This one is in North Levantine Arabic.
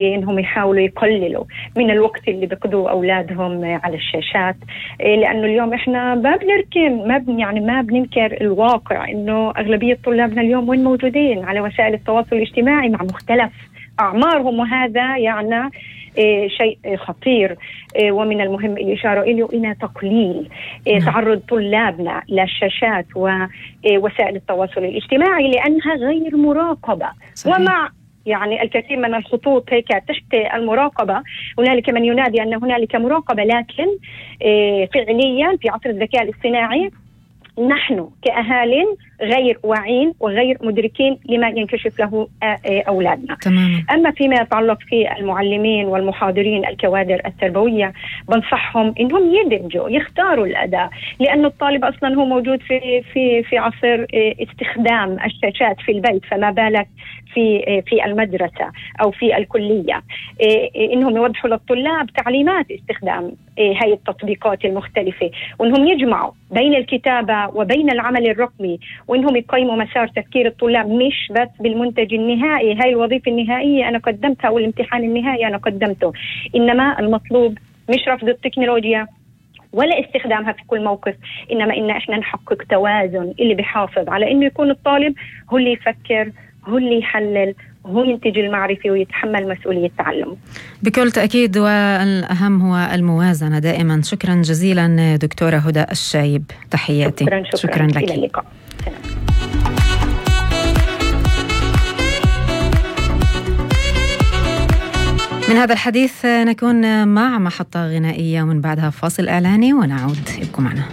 إنهم يحاولوا يقللوا من الوقت اللي بيقضوا أولادهم على الشاشات، لأنه اليوم إحنا ما بننكر الواقع إنه أغلبية طلابنا اليوم وين موجودين على وسائل التواصل الاجتماعي مع مختلف أعمارهم، وهذا يعني شيء خطير. ومن المهم الإشارة إلى تقليل تعرض طلابنا للشاشات ووسائل التواصل الاجتماعي لأنها غير مراقبة. صحيح. ومع يعني الكثير من الخطوط هيك تحت المراقبة، هنالك من ينادي أن هنالك مراقبة، لكن فعليا في عصر الذكاء الاصطناعي نحن كأهالٍ غير واعين وغير مدركين لما ينكشف له أولادنا. تماما. أما فيما يتعلق في المعلمين والمحاضرين الكوادر التربوية، بنصحهم إنهم يدمجوا يختاروا الأداة، لأن الطالب أصلا هو موجود في عصر استخدام الشاشات في البيت، فما بالك في المدرسة أو في الكلية. إنهم يوضحوا للطلاب تعليمات استخدام هاي التطبيقات المختلفة، وإنهم يجمعوا بين الكتابة وبين العمل الرقمي، وإنهم يقيموا مسار تفكير الطلاب مش بس بالمنتج النهائي، هاي الوظيفة النهائية أنا قدمتها والامتحان النهائي أنا قدمته، إنما المطلوب مش رفض التكنولوجيا ولا استخدامها في كل موقف، إنما إن إحنا نحقق توازن اللي بيحافظ على إنه يكون الطالب هو اللي يفكر، هو اللي يحلل، هو ينتج المعرفة ويتحمل مسؤولية التعلم. بكل تأكيد، والأهم هو الموازنة دائما. شكرا جزيلا دكتورة هدى الشايب، تحياتي. شكرا لك. إلى اللقاء. من هذا الحديث نكون مع محطة غنائية ومن بعدها فاصل إعلاني ونعود. ابقوا معنا.